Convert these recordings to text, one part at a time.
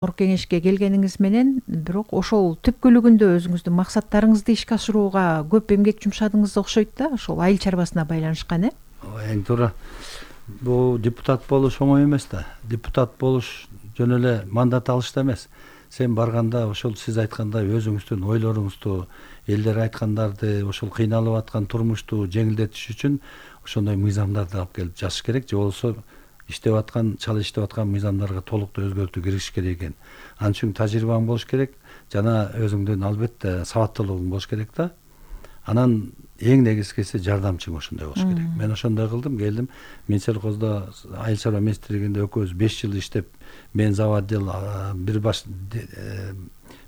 кеңешке келгениңиз менен бирок ошол түпкүлүгүндө өзүңүздүн максаттарыңызды ишке ашырууга көп эмгек жумшадыңыз окшойт да, ошол айыл чарбасына байланышкан Эң туура. Бул депутат болуш оңой эмес да. Депутат болуш жөн эле мандат алышта эмес. Сен барганда ошол сиз айткандай өзүңүздүн ойлоруңузду, элдер айткандарды, ошол кыйналып аткан турмушту жеңилдетиш үчүн ошондой мыйзамдарды алып келип жазыш керек. Же болбосо иштеп аткан, чала иштеп аткан мыйзамдарга толуктуу өзгөртүү киргизиш керек экен. Ал үчүн тажрыйбаң болуш керек, жана өзүңдүн албетте сабаттуулугуң болуш керек да. Анан эң негизгиси жардамчың ошондой болуш керек. Мен ошондой кылдым, келдим. Минсельхоздо айыл чарба министрлигинде экөөбүз 5 жыл иштеп, мен заводдел, бир баш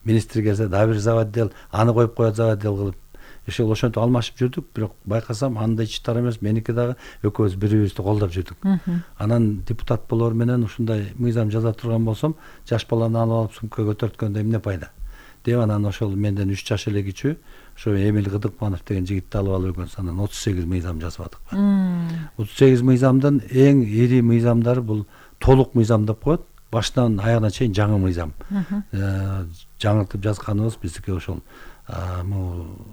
министр келсе дагы бир заводдел, аны коюп коет заводдел кылып. Ошентип алмашып жүрдүк, бирок байкасам анда ичтар эмес, меники дагы экөөбүз бири-бирибизди колдоп жүрдүк. Анан депутат болор менен ушундай мыйзам жаза турган болсом, жаш баланы алып алып сумка көтөрткөндө эмне пайда? Деп анан ошол менден 3 жаш эле кичүү, ошо Эмил Кыдыкманов деген жигитти алып экөөбүз анан 38 мыйзам жазып атык. 38 мыйзамдын эң ири мыйзамдары бул толук мыйзам деп коет. Башынан аягына чейин жаңы мыйзам. Жаңыртып жазганыбыз биздики ошол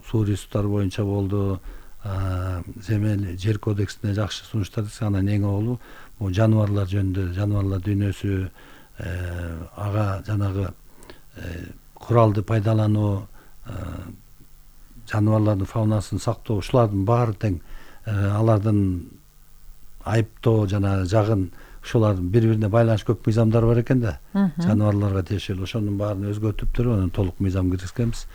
суу ресурстары боюнча болду, земель жер кодексине жакшы сунуштар десек, анан эң огулу бул жаныбарлар жөнүндө, жаныбарлар дүйнөсү, ага жанагы куралды пайдалануу, жаныбарлардын фаунасын сактоо, ушулардын баары тең, алардын айыптоо жана жагын, ушулардын бири-бирине байланыш көп мыйзамдар бар экен да. Жаныбарларга тиешелүү ошонун баарын өзгөртүп туруп, анан толук мыйзам киргизгенбиз.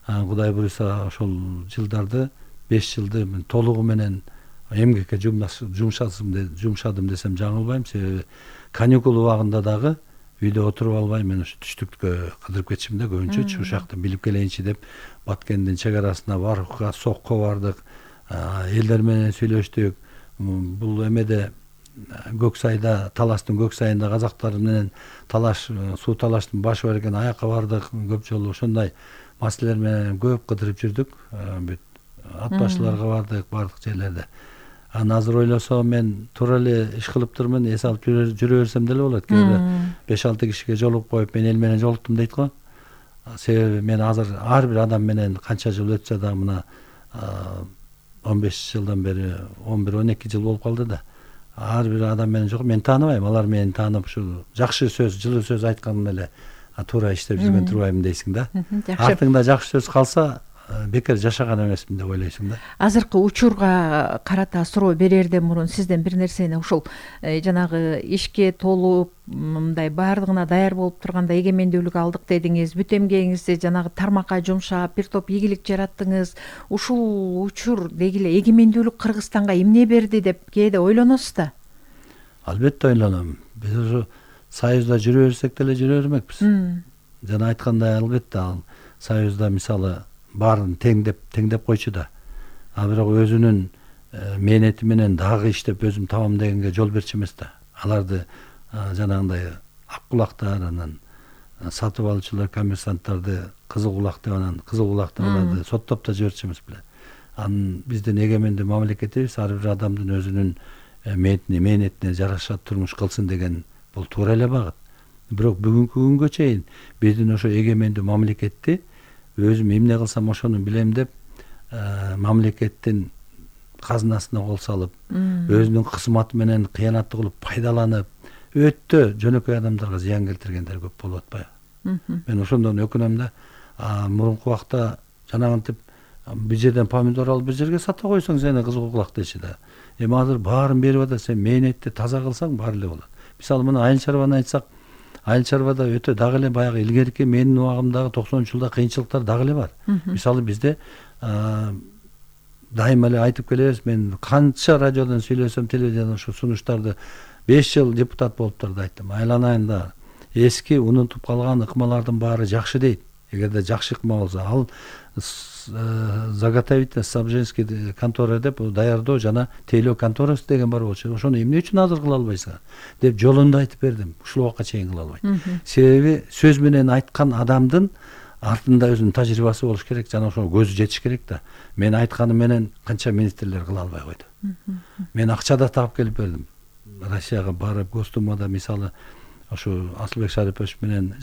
Кудай буюрса ошол жылдарды 5 жылды толугу менен эмгекке жумшадым десем жаңылбайм. Себеби каникул убагында дагы үйдө отуруп албай мен ушу түштүккө кыдырып кетишим да, көбүнчөчү ушул жакта билип келейинчи деп Баткендин чек арасына барыкка, сокко бардык, элдер менен сүйлөштүк. Бул эмеде Көксайда, Талаштын Көксайында казактар менен талаш, суу талаштын башы бар экен, аякка бардык көп жолу. Ошондой маселелер менен көп кыдырып жүрдүк. Бүт ат башчыларга бардык жерлерде. Анан азыр ойлосом мен туура эле иш кылып турмун, эс алып жүрө берсем деле болот. Кээ 5-6 кишиге жолугуп коюп, мен эл менен жолуктум дейт го. Себеби мен азыр ар бир адам менен канча жыл өтсө да, мына 15 жылдан бери 11-12 жыл болуп калды да. Ар бир адам менен жок, мен тааныбайм, алар мени таанып ушул жакшы сөз, жылы сөз айтканым эле туура иштеп жүргөн турбайбын дейсиң да. Артыңда жакшы сөз калса, бекер жашаган эмесмин деп ойлойсуң да. Азыркы учурга карата суроо берерден мурун сизден бир нерсени, ушул жанагы ишке толуп, мындай баардыгына даяр болуп турганда эгемендүүлүк алдык дедиңиз, бүт эмгегиңизди жанагы тармакка жумшап, бир топ ийгилик жараттыңыз. Ушул учур деги эле эгемендүүлүк Кыргызстанга эмне берди деп кээде ойлоносуз да? Албетте ойлоном. Биз ушу Союзда жүрө берсек деле жүрө бермекпиз. Жана айткандай, албетте ал Союзда мисалы баарын теңдеп койчу да. Бирок өзүнүн мээнети менен дагы иштеп өзүм табам дегенге жол берчү эмес да. Аларды жанагындай ак кулактар, анан сатып алуучулар, коммерсанттарды кызыл кулак деп, анан кызыл кулакты аларды соттоп да жиберчү эмес беле. Анын биздин эгемендүү мамлекетибиз ар бир адамдын өзүнүн мээнетине жараша турмуш кылсын деген бул туура эле багыт. Бирок бүгүнкү күнгө чейин биздин ошо эгемендүү мамлекетти өзүм эмне кылсам ошону билем деп мамлекеттин казынасына кол салып, өзүнүн кызматы менен кыянаттык кылып пайдаланып, өтө жөнөкөй адамдарга зыян келтиргендер көп болуп атпайбы? Мен ошондон өкүнөм да. Мурунку убакта жанагынтип бир жерден помидор алып бир жерге сата койсоң сени кызыл кулак дечи да. Эми азыр баарын берип атат, сен мээнетти таза кылсаң баары эле болот. Мисалы мына айыл чарбаны айтсак, айыл чарбада өтө дагы эле баягы илгерки менин убагымдагы 90-жылда кыйынчылыктар дагы эле бар. Мисалы бизде дайыма эле айтып келебиз, мен канча радиодон сүйлөсөм, телевизиядан ушу сунуштарды 5 жыл депутат болуп турду айттым. Айланайында эски унутуп калган ыкмалардын баары жакшы дейт. Эгерде жакшы ыкма болсо, ал заготовительный снабженский контора деп даярдоо жана тейлөө конторасы деген бар болчу. Ошону эмне үчүн азыр кыла албайсың деп жолунда айтып бердим. Ушул убакка чейин кыла албайт. Себеби сөз менен айткан адамдын артында өзүнүн тажрыйбасы болуш керек, жана ошого көзү жетиш керек да. Мен айтканым менен канча министрлер кыла албай койду. Мен акча да таап келип бердим. Россияга барып, Госдумада мисалы ошо Асылбек Шарипович менен